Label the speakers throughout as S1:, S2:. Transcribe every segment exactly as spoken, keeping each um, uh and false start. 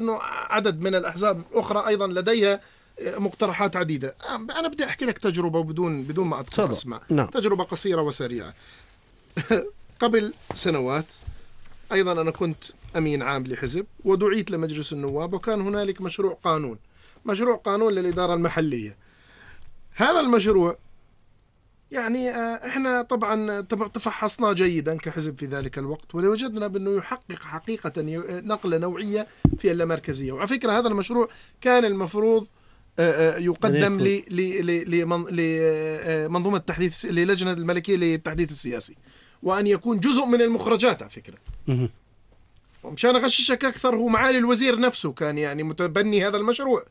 S1: أنه عدد من الأحزاب الأخرى أيضا لديها مقترحات عديدة. أنا بدي أحكي لك تجربة بدون بدون ما أدخل أسمع.
S2: نعم.
S1: تجربة قصيرة وسريعة. قبل سنوات أيضا أنا كنت أمين عام لحزب ودعيت لمجلس النواب، وكان هنالك مشروع قانون مشروع قانون للإدارة المحلية. هذا المشروع يعني احنا طبعا تفحصناه جيدا كحزب في ذلك الوقت، ولوجدنا بأنه يحقق حقيقة نقلة نوعية في اللامركزية. وعلى فكرة هذا المشروع كان المفروض يقدم لمنظومة التحديث للجنة الملكية للتحديث السياسي، وأن يكون جزء من المخرجات. على فكرة ومشان أغششك أكثر، هو معالي الوزير نفسه كان يعني متبني هذا المشروع.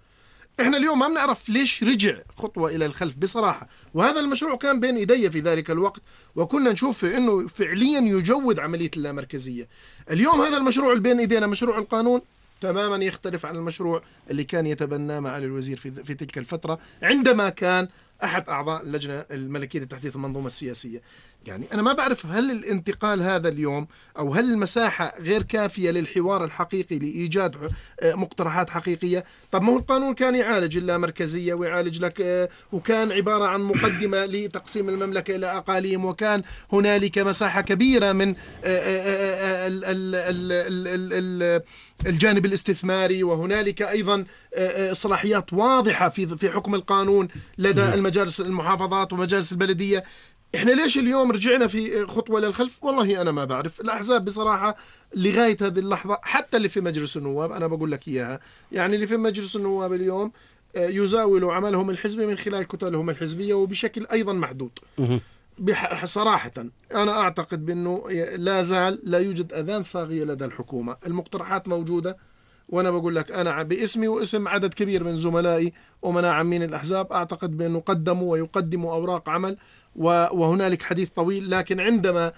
S1: احنا اليوم ما بنعرف ليش رجع خطوة الى الخلف بصراحة. وهذا المشروع كان بين ايدي في ذلك الوقت، وكنا نشوف انه فعليا يجود عملية اللامركزية. اليوم هذا المشروع اللي بين ايدينا، مشروع القانون، تماما يختلف عن المشروع اللي كان يتبناه معالي الوزير في في تلك الفترة عندما كان أحد أعضاء اللجنة الملكية لتحديث المنظومة السياسية. يعني أنا ما بعرف هل الانتقال هذا اليوم أو هل المساحة غير كافية للحوار الحقيقي لإيجاد مقترحات حقيقية. طب ما هو القانون كان يعالج اللامركزية ويعالج لك، وكان عبارة عن مقدمة لتقسيم المملكة إلى أقاليم، وكان هنالك مساحة كبيرة من الجانب الاستثماري، وهنالك أيضا صلاحيات واضحة في في حكم القانون لدى المجالس المحافظات ومجالس البلدية. إحنا ليش اليوم رجعنا في خطوة للخلف؟ والله أنا ما بعرف. الأحزاب بصراحة لغاية هذه اللحظة، حتى اللي في مجلس النواب أنا بقول لك إياها، يعني اللي في مجلس النواب اليوم يزاولوا عملهم الحزبي من خلال كتلهم الحزبية وبشكل أيضا محدود. صراحة أنا أعتقد بأنه لا زال لا يوجد أذان صاغية لدى الحكومة. المقترحات موجودة، وأنا بقول لك أنا باسمي واسم عدد كبير من زملائي ومناعمين عمين الأحزاب أعتقد بأنه قدموا ويقدموا أوراق عمل، وهنالك حديث طويل. لكن عندما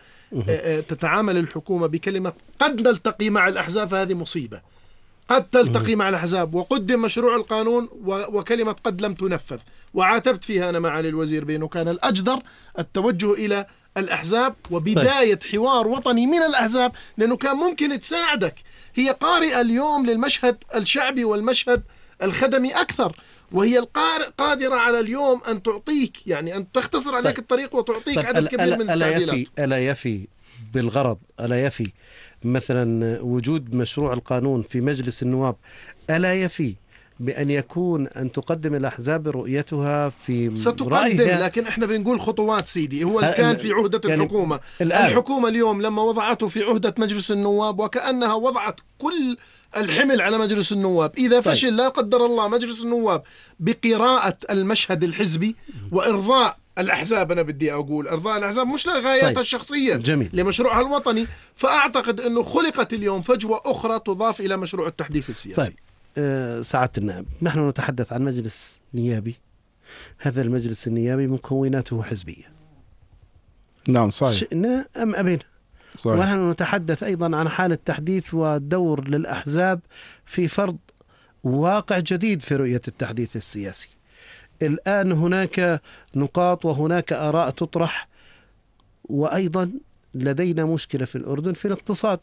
S1: تتعامل الحكومة بكلمة قد نلتقي مع الأحزاب فهذه مصيبة. قد تلتقي مع الأحزاب، وقدم مشروع القانون وكلمة قد لم تنفذ، وعاتبت فيها أنا معالي الوزير بأنه كان الأجدر التوجه إلى الأحزاب وبداية حوار وطني من الأحزاب، لأنه كان ممكن تساعدك. هي قارئة اليوم للمشهد الشعبي والمشهد الخدمي أكثر، وهي القارئ قادرة على اليوم أن تعطيك، يعني أن تختصر عليك الطريق وتعطيك
S2: طيب
S1: عدد كبير من التعديلات.
S2: ألا يفي, ألا يفي بالغرض، ألا يفي مثلا وجود مشروع القانون في مجلس النواب، ألا يفي بأن يكون أن تقدم الأحزاب رؤيتها في
S1: ستقدم
S2: رأيها.
S1: لكن إحنا بنقول خطوات سيدي. هو اللي كان في عهدة يعني الحكومة الآن. الحكومة اليوم لما وضعته في عهدة مجلس النواب وكأنها وضعت كل الحمل على مجلس النواب. إذا فشل طيب. لا قدر الله مجلس النواب بقراءة المشهد الحزبي وإرضاء الأحزاب، أنا بدي أقول إرضاء الأحزاب مش لغاياتها طيب. الشخصية جميل. لمشروعها الوطني، فأعتقد أنه خلقت اليوم فجوة أخرى تضاف إلى مشروع التحديث السياسي.
S2: طيب. أه سعادة النائب، نحن نتحدث عن مجلس نيابي. هذا المجلس النيابي مكوناته حزبية.
S3: نعم صحيح.
S2: شئنا أم أبينا. صحيح. ونحن نتحدث أيضا عن حالة تحديث ودور للأحزاب في فرض واقع جديد في رؤية التحديث السياسي. الآن هناك نقاط وهناك آراء تطرح، وأيضا لدينا مشكلة في الأردن في الاقتصاد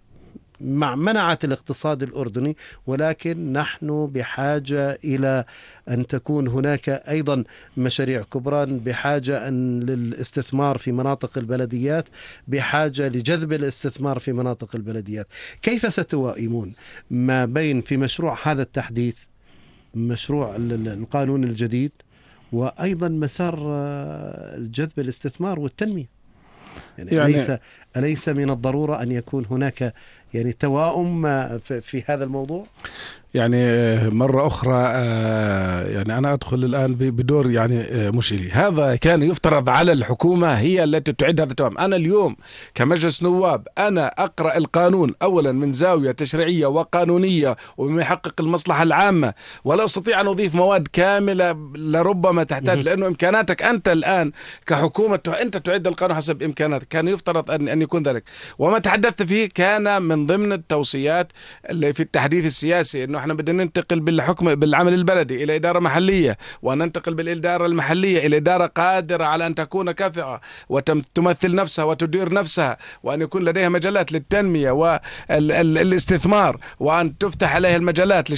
S2: مع منعة الاقتصاد الأردني، ولكن نحن بحاجة إلى أن تكون هناك أيضا مشاريع كبرى، بحاجة أن للاستثمار في مناطق البلديات، بحاجة لجذب الاستثمار في مناطق البلديات. كيف ستوائمون ما بين في مشروع هذا التحديث، مشروع القانون الجديد، وأيضا مسار جذب الاستثمار والتنمية؟ يعني, يعني أليس, أليس من الضرورة أن يكون هناك يعني توائم في هذا الموضوع؟
S3: يعني مرة أخرى يعني أنا أدخل الآن بدور يعني مش إلي. هذا كان يفترض على الحكومة هي التي تعد هذا التوائم. أنا اليوم كمجلس نواب أنا أقرأ القانون أولا من زاوية تشريعية وقانونية وبما يحقق المصلحة العامة، ولا أستطيع أن أضيف مواد كاملة لربما تحتاج، لأنه إمكاناتك أنت الآن كحكومة أنت تعد القانون حسب إمكاناتك. كان يفترض أن أن يكون ذلك، وما تحدثت فيه كان من ضمن التوصيات اللي في التحديث السياسي، إنه نحن بدنا ننتقل بالحكم بالعمل البلدي إلى إدارة محلية، وننتقل بالإدارة المحلية إلى إدارة قادرة على أن تكون كافئة وتمثل نفسها وتدير نفسها، وأن يكون لديها مجالات للتنمية والاستثمار، وأن تفتح عليها المجالات